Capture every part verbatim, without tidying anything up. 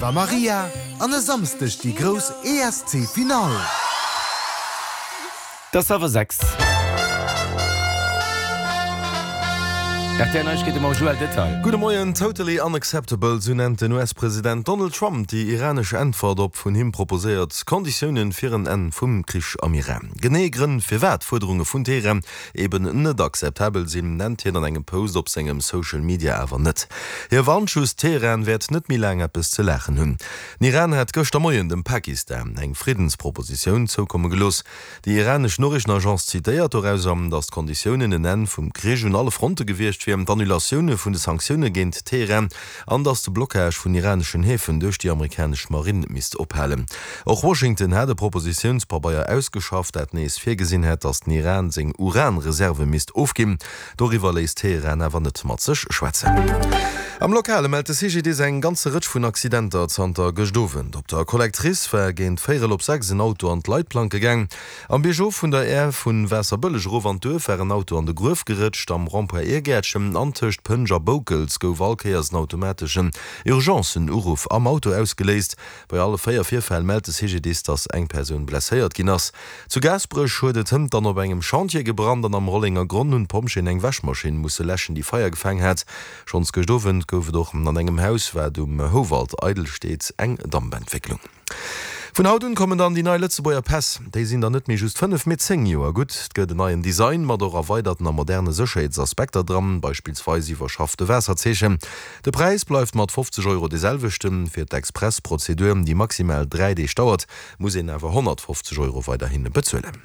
Eva Maria an e Samsdeg déi grouss E S C Finall. Et ass hallwer sechs. R T L Neiegkeete mam Joël Detail. Gudde Moien. Totally unacceptable, sou nennt den U S-President Donald Trump déi iranesch Äntwert op vun him proposéiert Konditioune fir en Enn vum Krich am Iran. Genee Grënn, firwat d'Fuerderunge vun Teheran eben net akzeptabel sinn, nennt hien an engem Post op sengem Social Media awer net. Hie warnt just, Teheran wäert net méi laang eppes ze laachen hunn. Den Iran hat gëschter Moien dem Pakistan eng Friddenspropositioun zoukomme gelooss. Déi iranesch Noriichtenagence zitéiert dorauser, datt d'Konditiounen en Enn vum Krich un alle Fronte gewiescht wier, d'Annulatioune vun de Sanktioune géint Teheran an datt de Blockage vun iraneschen Häfen duerch déi amerikanesch Marinn misst ophalen. Och Washington hat e Propositiounspabeier ausgeschafft, dat nees virgesinn hätt, datt den Iran seng Uranreserve misst ofginn. Doriwwer léisst Teheran awer net mat sech schwätzen. Am Lokale mellt de C G D I S eng ganze Rëtsch vun Accidenter zanter gëscht Owend. Op der Collectrice war géint véierel op sechs en Auto an d'Leitplanke gaang. Am Biergof vun der Air vu Waasserbëlleg erof an d'Duerf war en Auto an de Gruef gerëtscht. Am Rond-point Irgäertchen an tëscht Pënsch a Boukels gouf all Kéiers en automateschen Urgencen-Uruff am Auto ausgeléist. Bei alle véier Virfäll mellt de C G D I S, datt eng Persoun blesséiert ginn ass. Zu Gaasperech huet et hënt dann op engem Chantier gebrannt an am Rollengergronn hunn d'Pompjeeën eng Wäschmaschinn musse läschen, déi Feier gefaang hat. Schonns gëscht Owend gouf et och an engem Haus, wat um Houwald eidel steet, eng Dampentwécklung. Vun haut un kommen dann déi nei Lëtzebuerger Päss. Déi sinn dann net méi just fënnef, mee zéng Joer gutt. Et gëtt en neien Design mat och erweiderten a moderne Sécherheetsaspekter dran, beispillsweis iwwerschaffte Waasserzeechen. De Präis bleift mat fofzeg Euro dee selwechten. Fir d'Express-Prozedur, déi maximal dräi Deeg dauert, muss een awer honnertfofzeg Euro weiderhi bezuelen.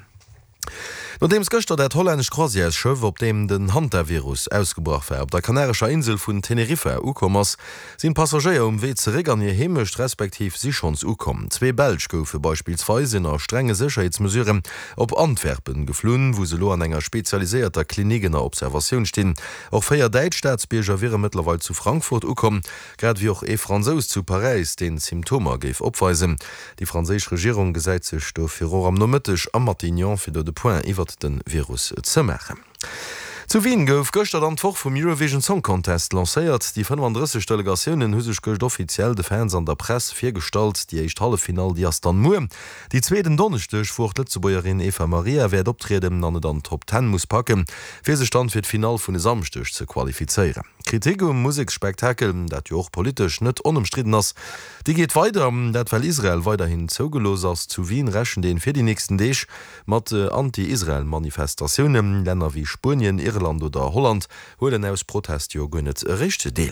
Nodeems gëschter dat hollännescht Croisièresschëff, op deem den Hantavirus ausgebrach war, op der kanarescher Insel vun Teneriffa ukomm ass, sinn d'Passagéier um Wee zeréck an hir Heemecht, respektiv si schonns ukomm. Zwee Belsch goufe beispillsweis ënner strenge Sécherheetsmesuren op Antwerpen geflunn, wou se elo an enger spezialiséierter Klinik ënner Observatioun stinn. Och véier däitsch Staatsbierger wiere mëttlerweil zu Frankfurt ukomm, grad ewéi och ee Fransous zu Paräis, deen Symptomer géif opweisen. Déi franséisch Regierung gesäit sech dofir och am Nomëtteg am Matignon, fir do de Point iwwert de Virus ze maachen. Zu Wien gouf gëschter dann d'Woch vum Eurovision Song Contest lancéiert. Déi fënnefandrësseg Delegatiounen hu sech gëscht offiziell de Fans an der Press virgestallt. Déi éischt Halleffinall, déi ass dann muer. Déi zweet en Donneschdeg, wou och d'Lëtzebuergerin Eva Maria wäert optrieden an et an d'Top Ten muss packen, fir sech dann fir d'Finall vun e Samschdeg ze qualifizéieren. Kritik um Museksspektakel, dat jo och politesch net onëmstridden ass, déi geet weider, dat well Israel weiderhin zougelooss ass. Zu Wien rechent een fir déi nächsten Deeg mat Anti-Israel-Manifestatiounen. Länner wéi Spuenien, Irland oder Holland huelen aus Protest jo guer net eréischt deel.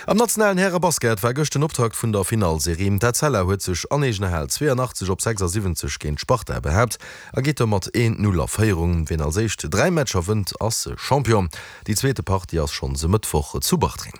Am nationalen Härebasket war gëscht den Optakt vun der Finallserie. D'Etzella huet sech an eegener Hal zweeanachtzeg op sechsasiwwenzeg géint d'Sparta behaapt a geet domat een Null a Féierung. Wien als éischt dräi Matcher wënnt, ass Champion. Déi zweete Partie ass schonns e Mëttwoch zu Bartreng.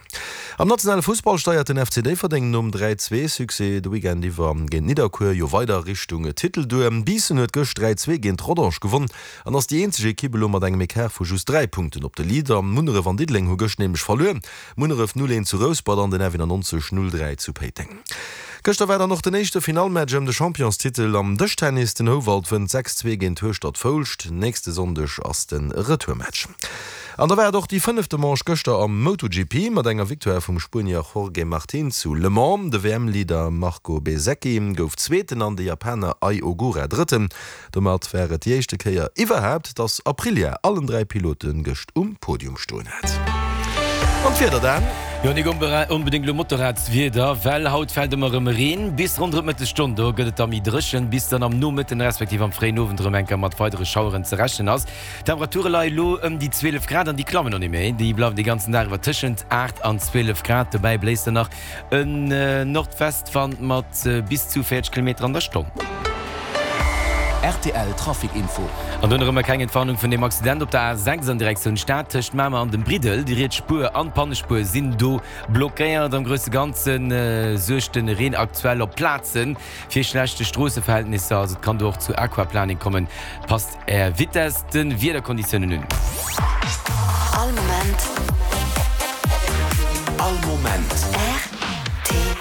Am nationale Fussball steiert den F C Déifferdeng nom dräi zwee Succès de Weekend iwwer géint Nidderkuer jo weider Richtung Titel duer. Biissen huet gëscht dräi zwee géint Rodange gewonn an ass déi eenzeg Ekipp elo mat engem Ecart vu just dräi Punkten op de Leader. Munneref an Diddeleng hu gëscht nämlech verluer. Munneref null eent zu Rouspert an den F nonnenaanzeg null dräi zu Péiteng. Gëschter war dann och den éischte Finallmatch ëm de Championstitel am Dëschtennis. Den Houwald wënnt sechs zwee géint Hueschtert Foulscht. Nächste Sonndeg ass de Retourmatch. An da war et och déi fënnefte Manche gëschter am MotoGP mat enger Victoire vum Spuenier Jorge Martin zu Le Mans. De W M-Leader Marco Bezzecchi gouf Zweeten an de Japaner Ai Ogura Drëtten. Domat war et déi éischte Kéier iwwerhaapt, dass Aprilia allen dräi Pilote gëscht um Podium stoen hat. An d'Wieder dann? Jo, nik onbedéngt elo Motorradswieder, well haut fält ëmmer erëm Reen bis ronderëm d'Mëttesstonn. Do gëtt et da méi dréchen, bis dann am Nomëtten respektiv am fréien Owend erëm eng Kéier mat weidere Schaueren ze rechnen ass. D'Temperature leie elo ëm déi zwielef Grad an déi klammen och net méi, déi bleiwen de ganzen Dag iwwer tëschent aacht an zwielef Grad. Dobäi bléist dann nach en Nordwestwand mat bis zu véierzeg Kilometer an der Stonn. R T L Trafic Info. An dunn erëm eng kleng Entwarnung vun dem Accident op der A sechs an Direktioun Stad tëscht Mamer an dem Briddel. Déi riets Spuer an d'Pannespuer sinn do blockéiert. Am grousse Ganze suergt de Reen aktuell op Plaze fir schlechte Stroosseverhältnisser. Also et kann do och zu Aquaplaning kommen. Passt Är Vitess de Wiederkonditiounen un. All Moment. All Moment. R T L.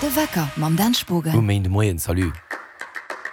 De Wecker mam Dan Spogen. Um Méindemoien, salut.